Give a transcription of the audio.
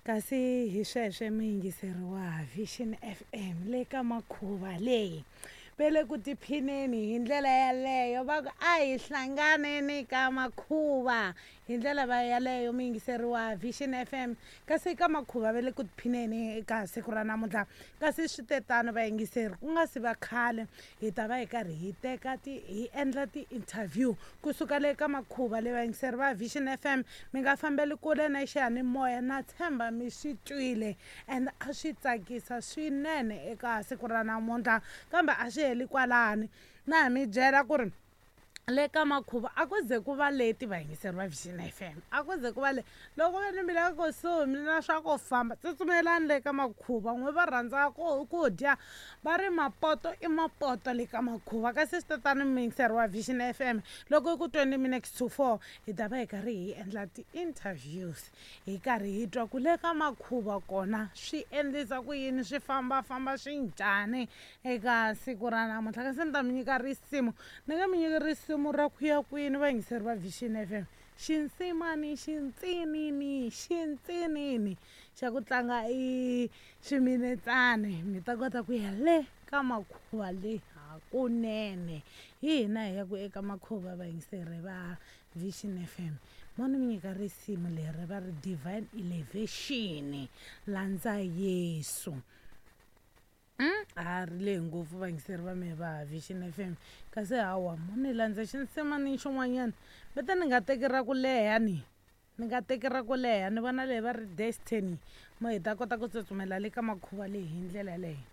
Kasi hi sweswe muyingiseri wa Vision FM le ka makhuva leyi ve le ku tiphineni hi ndlela yaleyo va ku a hi hlanganeni ka makhuva hi ndlela va yaleyo muyingiseri wa Vision FM. Kasi ka makhuva ve le ku tiphineni eka siku ra namuntlha. Kasi swi te tano vayingiseri, ku nga si va khale hi ta va hi karhi hi teka ti hi endla ti-interview kusuka le ka makhuva le. Vayingiseri va Vision FM, mi nga fambeli kule na xiyanimoya, na tshemba mi swi twile and a swi tsakisa swinene eka siku ra namuntlha. Kambe a swi heli kwalani, na ha mi byela ku ri le ka makhuva a ku ze ku va leti. Vayingiseri va Vision FM, a ku ze ku va le loko ve ni mi le kusuhi mi na swa ku famba, tsutsumelani le ka makhuva. N'we va rhandza ku dya va ri mapoto i mapoto le ka makhuva. Kasi swi tatani, muyingiseri wa Vision FM, loko i ku 20 minutes to 4 hi ta va hi karhi hi endla ti-interviews, hi karhi hi twa ku le ka makhuva kona swi endlisa ku yini, swi fambafamba swi njhani eka siku ra namuntlha. Kasi ni ta mi nyika risimu, ni nga mi nyiki risimu ra ku ya kwini, vayingiseri va Vision FM? Xinsimani xintsinini xintsinini xa ku tlanga i swiminetsani, mi ta kota ku ya le ka makhuva le hakunene. Hi hina hi ya ku eka makhuva, vayingiseri va Vision FM. Mo ni mi nyika risimu leri va ri Divine Elevation, Landza Yesu. A ri lehi ngopfu, vayingiseri va mehe va Vision FM. Kasi hawa, mo ni landza xinsimani xin'wanyana vete ni nga teki ra ku leha, ni nga teki ra ku leha. Ni vona leyi va ri Destiny, mo hi ta kota ku tsutsumela le ka makhuva leyi hi ndlela yaleyo.